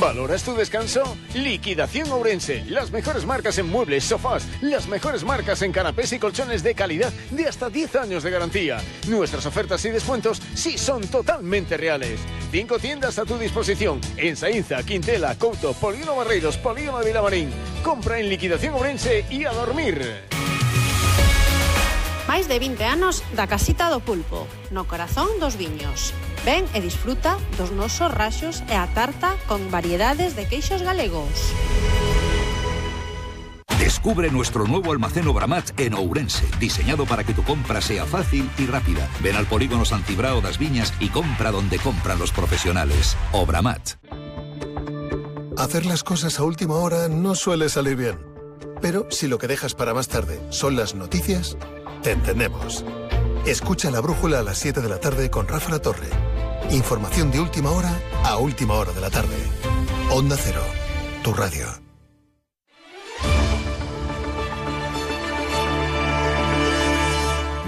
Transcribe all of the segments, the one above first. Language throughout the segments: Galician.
¿Valoras tu descanso? Liquidación Ourense. Las mejores marcas en muebles, sofás, las mejores marcas en canapés y colchones de calidad de hasta 10 años de garantía. Nuestras ofertas y descuentos sí son totalmente reales. 5 tiendas a tu disposición en Saínza, Quintela, Couto, Polígono Barreiros, Polígono de Vilamarín. Compra en Liquidación Ourense y a dormir. Máis de 20 anos da Casita do Pulpo, no corazón dos viños. Ven e disfruta dos nosos raxos e a tarta con variedades de queixos galegos. Descubre nuestro nuevo almacén Obramat en Ourense, diseñado para que tu compra sea fácil y rápida. Ven al polígono Santibrao das Viñas y compra donde compran los profesionales. Obramat. Hacer las cosas a última hora no suele salir bien. Pero si lo que dejas para más tarde son las noticias, te entendemos. Escucha La Brújula a las 7 de la tarde con Rafa La Torre. Información de última hora a última hora de la tarde. Onda Cero, tu radio.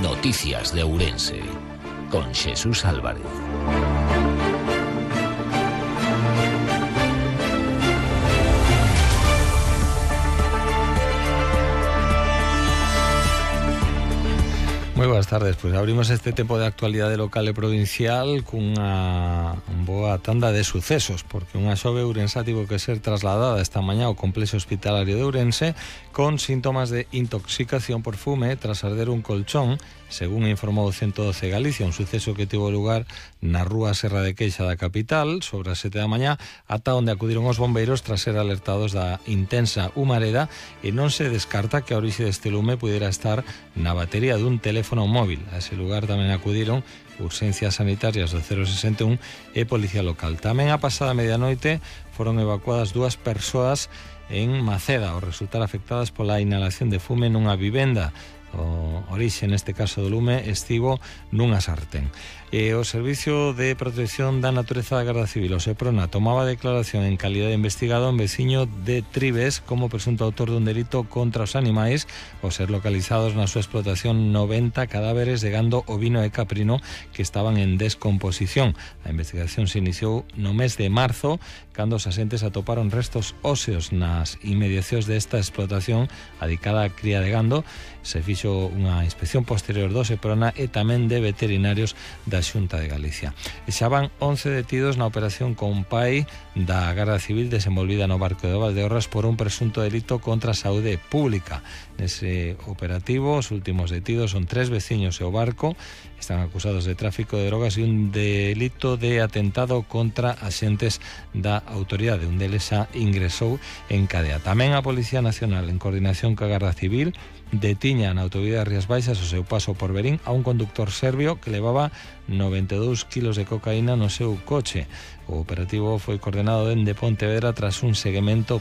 Noticias de Ourense con Jesús Álvarez. Moi boas tardes, pois abrimos este tempo de actualidade local e provincial cunha boa tanda de sucesos, porque unha xove ourensá tivo que ser trasladada esta mañá ao complexo hospitalario de Ourense con síntomas de intoxicación por fume tras arder un colchón, según informou o 112 Galicia, un suceso que tivo lugar na rúa Serra de Queixa da capital sobre as 7 da mañá, ata onde acudiron os bombeiros tras ser alertados da intensa humareda, e non se descarta que a orixe deste lume pudiera estar na batería dun teléfono móvil. A ese lugar tamén acudiron urxencias sanitarias do 061 e Policía Local. Tamén a pasada medianoite foron evacuadas 2 persoas en Maceda ao resultar afectadas pola inhalación de fume nunha vivenda. O orixe neste caso do lume estivo nunha sartén. O Servicio de Protección da Natureza da Garda Civil, o SEPRONA, tomaba declaración en calidad de investigado un veciño de Tribes como presunto autor dun delito contra os animais ao ser localizados na súa explotación 90 cadáveres de gando ovino e caprino que estaban en descomposición. A investigación se iniciou no mes de marzo, cando os asentes atoparon restos óseos nas inmediacións desta explotación adicada á cría de gando. Se fixo unha inspección posterior do SEPRONA e tamén de veterinarios da Xunta de Galicia. E xa van 11 detidos na operación Compai da Garda Civil desenvolvida no barco de Valdeorras por un presunto delito contra a saúde pública. Nese operativo, os últimos detidos son 3 veciños e o barco. Están acusados de tráfico de drogas e un delito de atentado contra axentes da autoridade. Un deles xa ingresou en cadea. Tamén a Policía Nacional, en coordinación ca Garda Civil, detiña na autovía de Rías Baixas o seu paso por Verín a un conductor serbio que levaba 92 kilos de cocaína no seu coche. O operativo foi coordenado dende Pontevedra tras un seguimento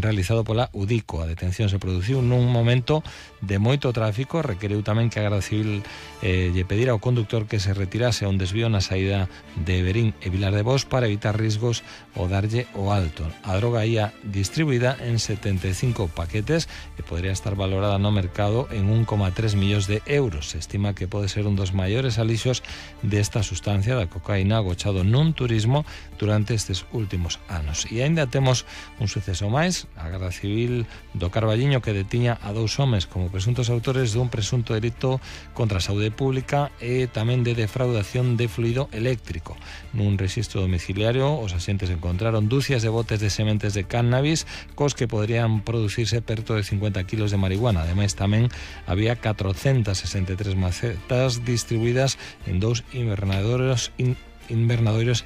realizado pola UDICO. A detención se produciu nun momento de moito tráfico. Requeriu tamén que a Garda Civil lle pedira ao conductor que se retirase a un desvío na saída de Verín e Vilar de Bos para evitar risgos ou darlle o alto. A droga ia distribuída en 75 paquetes e podría estar valorada no mercado en 1,3 millóns de euros. Se estima que pode ser un dos maiores alixos desta sustancia da cocaína agochado nun turismo durante estes últimos anos. E aínda temos un suceso máis. A Garda Civil do Carballiño que detiña a 2 homes como presuntos autores dun presunto delito contra a saúde pública e tamén de defraudación de fluido eléctrico. Nun rexistro domiciliario, os axentes encontraron dúcias de botes de sementes de cannabis cos que podrían producirse perto de 50 kilos de marihuana. Ademais, tamén había 463 macetas distribuídas en 2 invernadoiros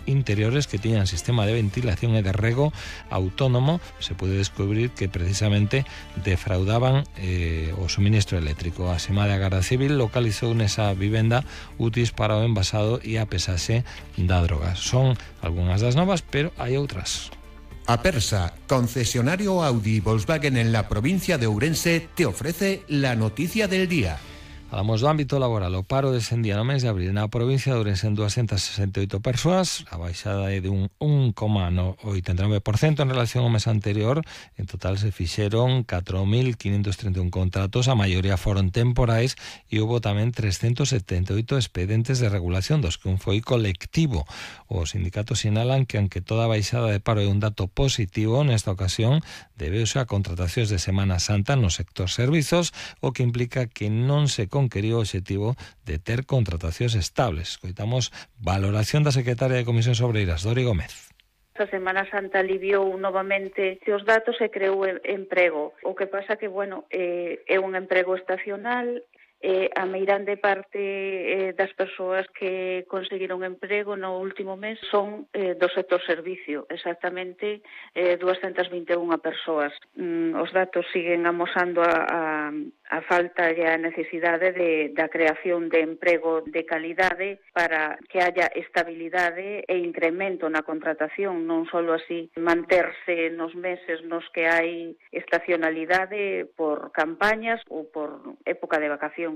interiores que tiñan sistema de ventilación e de rego autónomo. Se puede descubrir que precisamente defraudaban o suministro eléctrico. A Semade a Garda Civil localizou nesa vivenda útiles para o envasado e a pesaxe da droga. Son algunhas das novas, pero hai outras. Apersa, concesionario Audi y Volkswagen en la provincia de Ourense, te ofrece la noticia del día. Falamos do ámbito laboral. O paro descendía no mes de abril na provincia de Ourense en 268 persoas, a baixada é de un 1,89% en relación ao mes anterior. En total se fixeron 4.531 contratos, a maioría foron temporais e houve tamén 378 expedientes de regulación, dos que un foi colectivo. Os sindicatos sinalan que, aunque toda a baixada de paro é un dato positivo, nesta ocasión debeuse a contratacións de Semana Santa no sector servizos, o que implica que non se conqueriu o obxectivo de ter contratacións estables. Escoitamos valoración da secretaria de Comisións Obreiras, Dori Gómez. A Semana Santa aliviou novamente os datos e creou emprego. O que pasa que, é un emprego estacional. A meirande parte das persoas que conseguiron emprego no último mes son do sector servicio, exactamente 221 persoas. Os datos siguen amosando a falta e a necesidade da creación de emprego de calidade para que haya estabilidade e incremento na contratación, non só así manterse nos meses nos que hai estacionalidade por campañas ou por época de vacacións.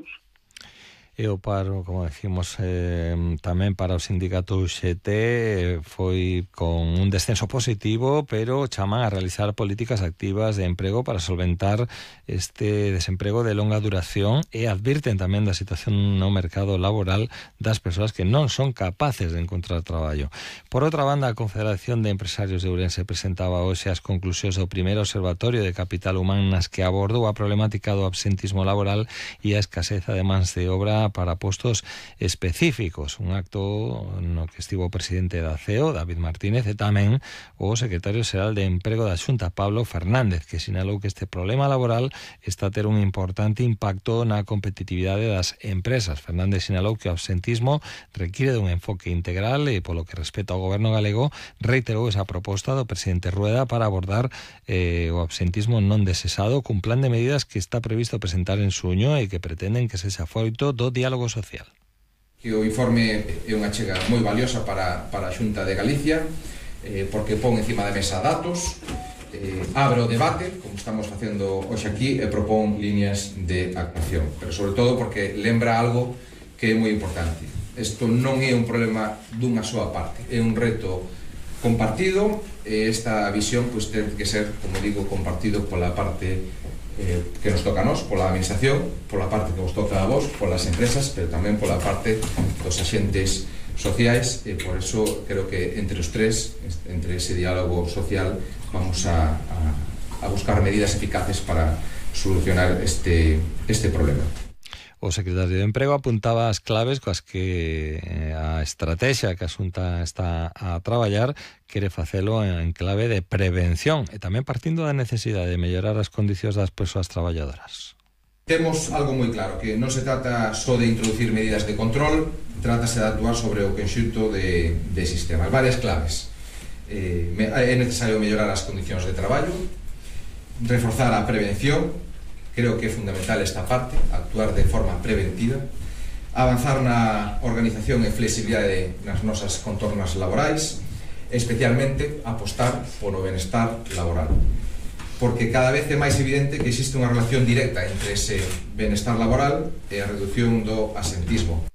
E o paro, como decimos, tamén para o sindicato UGT foi con un descenso positivo, pero chaman a realizar políticas activas de emprego para solventar este desemprego de longa duración e advirten tamén da situación no mercado laboral das persoas que non son capaces de encontrar traballo. Por outra banda, a Confederación de Empresarios de Ourense presentaba hoxe as conclusións do primeiro observatorio de capital humán nas que abordou a problemática do absentismo laboral e a escaseza de mans de obra para postos específicos. Un acto no que estivo o presidente da CEO, David Martínez, e tamén o secretario xeral de Emprego da Xunta, Pablo Fernández, que sinalou que este problema laboral está a ter un importante impacto na competitividade das empresas. Fernández sinalou que o absentismo requiere dun enfoque integral e, polo que respecta ao goberno galego, reiterou esa proposta do presidente Rueda para abordar o absentismo non desexado cun plan de medidas que está previsto presentar en xuño e que pretenden que sexa froito do diálogo social. Que o informe é unha achega moi valiosa para a Xunta de Galicia, porque pon encima da mesa datos, abre o debate, como estamos facendo hoxe aquí, e propón líneas de actuación, pero sobre todo porque lembra algo que é moi importante. Isto non é un problema dunha súa parte, é un reto compartido, e esta visión ten que ser, como digo, compartido pola parte que nos toca a nós, pola administración, pola parte que nos toca a vos, polas empresas, pero tamén pola parte dos axentes sociais, e por eso creo que entre os tres, entre ese diálogo social, vamos a buscar medidas eficaces para solucionar este problema. O secretario de Emprego apuntaba as claves coas que a estrategia que a Xunta está a traballar quere facelo en clave de prevención e tamén partindo da necesidade de mellorar as condicións das persoas traballadoras. Temos algo moi claro, que non se trata só de introducir medidas de control, trátase de actuar sobre o conxunto de sistemas. Varias claves. É necesario mellorar as condicións de traballo, reforzar a prevención. Creo que é fundamental esta parte, actuar de forma preventiva, avanzar na organización e flexibilidade nas nosas contornas laborais, especialmente apostar polo benestar laboral. Porque cada vez é máis evidente que existe unha relación directa entre ese benestar laboral e a reducción do absentismo.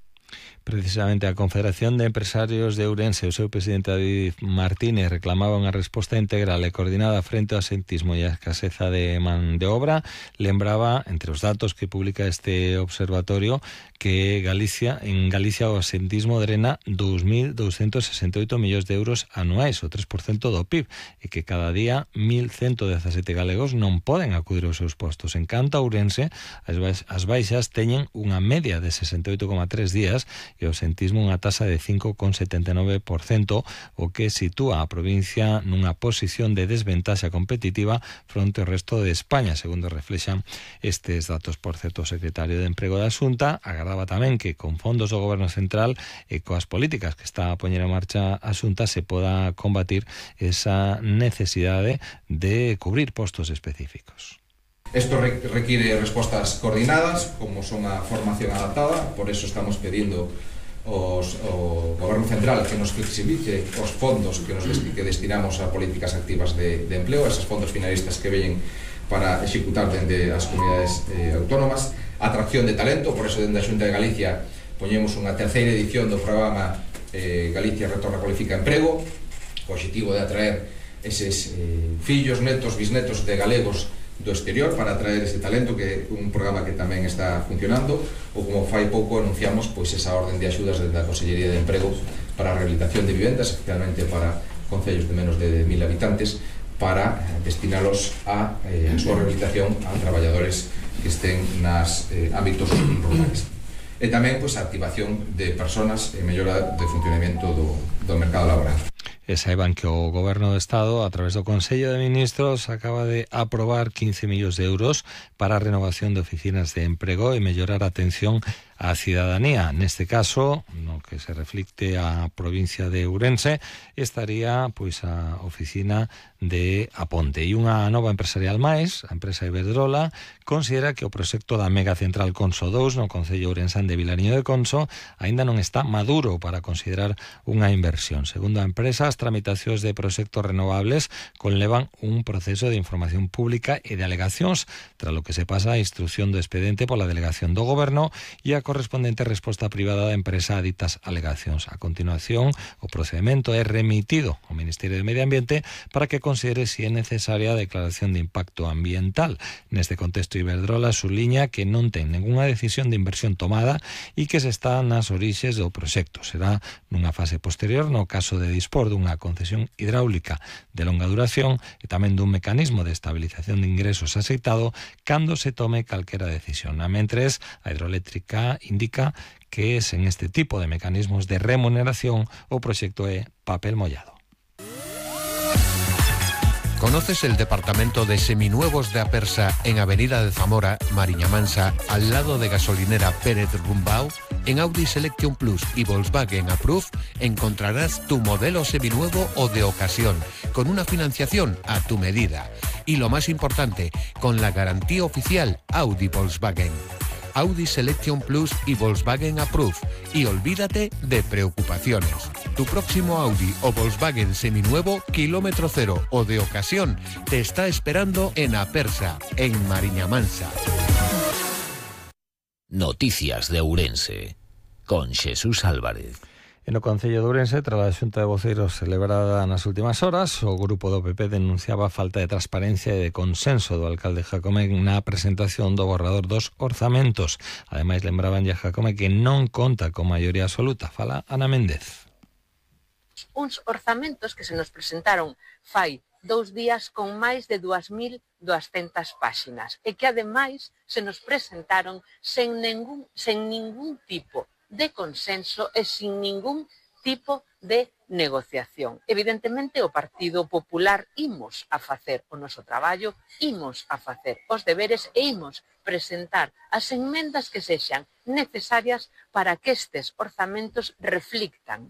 Precisamente a Confederación de Empresarios de Ourense e o seu presidente David Martínez reclamaba unha resposta integral e coordinada frente ao absentismo e a escaseza de man de obra. Lembraba, entre os datos que publica este observatorio, que en Galicia o absentismo drena 2.268 millóns de euros anuais, o 3% do PIB, e que cada día 1.117 galegos non poden acudir aos seus postos. En canto a Ourense, as baixas teñen unha media de 68,3 días e o absentismo unha tasa de 5,79%, o que sitúa a provincia nunha posición de desventaxa competitiva fronte ao resto de España, segundo reflexan estes datos. Por certo, o secretario de Emprego da Xunta agardaba tamén que con fondos do Goberno Central e coas políticas que está a poñer en marcha a Xunta se poda combatir esa necesidade de cubrir postos específicos. Isto requiere respostas coordinadas, como son a formación adaptada, por eso estamos pedindo ao Goberno Central que nos flexibilice os fondos que destinamos a políticas activas de empleo, esos fondos finalistas que veñen para executar dende as comunidades autónomas, atracción de talento, por eso dentro da Xunta de Galicia poñemos unha terceira edición do programa Galicia Retorna Cualifica Emprego, co objetivo de atraer eses fillos, netos, bisnetos de galegos do exterior para atraer ese talento, que é un programa que tamén está funcionando, ou como fai pouco anunciamos pois esa orden de axudas da Consellería de Emprego para a rehabilitación de vivendas, especialmente para concellos de menos de 1000 habitantes, para destinalos a súa rehabilitación a traballadores que estén nas ámbitos rurales. E tamén pois, a activación de personas e mellora de funcionamento do mercado laboral. E saiban que o Goberno do Estado, a través do Consello de Ministros, acaba de aprobar 15 millóns de euros para a renovación de oficinas de emprego e mellorar a atención á cidadanía. Neste caso, no que se reflicte a provincia de Ourense, estaría pois a oficina de Aponte. E unha nova empresarial máis, a empresa Iberdrola, considera que o proxecto da megacentral Conso 2 no concello ourensán de Vilariño de Conso aínda non está maduro para considerar unha inversión. Segundo a empresa, as tramitacións de proxectos renovables conlevan un proceso de información pública e de alegacións, tras lo que se pasa a instrucción do expediente pola delegación do Goberno e a correspondente resposta privada da empresa a ditas alegacións. A continuación, o procedimento é remitido ao Ministerio de Medio Ambiente para que considere se é necesaria a declaración de impacto ambiental. Neste contexto, Iberdrola suliña que non ten ningunha decisión de inversión tomada e que se está nas orixes do proxecto. Será nunha fase posterior, no caso de dispor dunha concesión hidráulica de longa duración e tamén dun mecanismo de estabilización de ingresos aceitado cando se tome calquera decisión. A mentres, a hidroeléctrica indica que sen este tipo de mecanismos de remuneración o proxecto é papel mollado. ¿Conoces el departamento de seminuevos de Apersa en Avenida de Zamora, Mariña Mansa, al lado de gasolinera Pérez Rumbao? En Audi Selection Plus y Volkswagen Approve encontrarás tu modelo seminuevo o de ocasión, con una financiación a tu medida. Y lo más importante, con la garantía oficial Audi Volkswagen. Audi Selection Plus y Volkswagen Approve. Y olvídate de preocupaciones. Tu próximo Audi o Volkswagen seminuevo, kilómetro cero o de ocasión, te está esperando en Apersa, en Mariña Mansa. Noticias de Ourense, con Xesús Álvarez. En o Concello de Ourense, tras a xunta de voceiros celebrada nas últimas horas, o grupo do PP denunciaba a falta de transparencia e de consenso do alcalde Jacome na presentación do borrador dos orzamentos. Ademais, lembraban a Jacome que non conta con maioría absoluta. Fala Ana Méndez. Uns orzamentos que se nos presentaron fai 2 días con máis de 2.200 páxinas e que ademais se nos presentaron sen ningún tipo de consenso e sin ningún tipo de negociación. Evidentemente, o Partido Popular imos a facer o noso traballo, imos a facer os deberes e imos presentar as enmendas que sexan necesarias para que estes orzamentos reflictan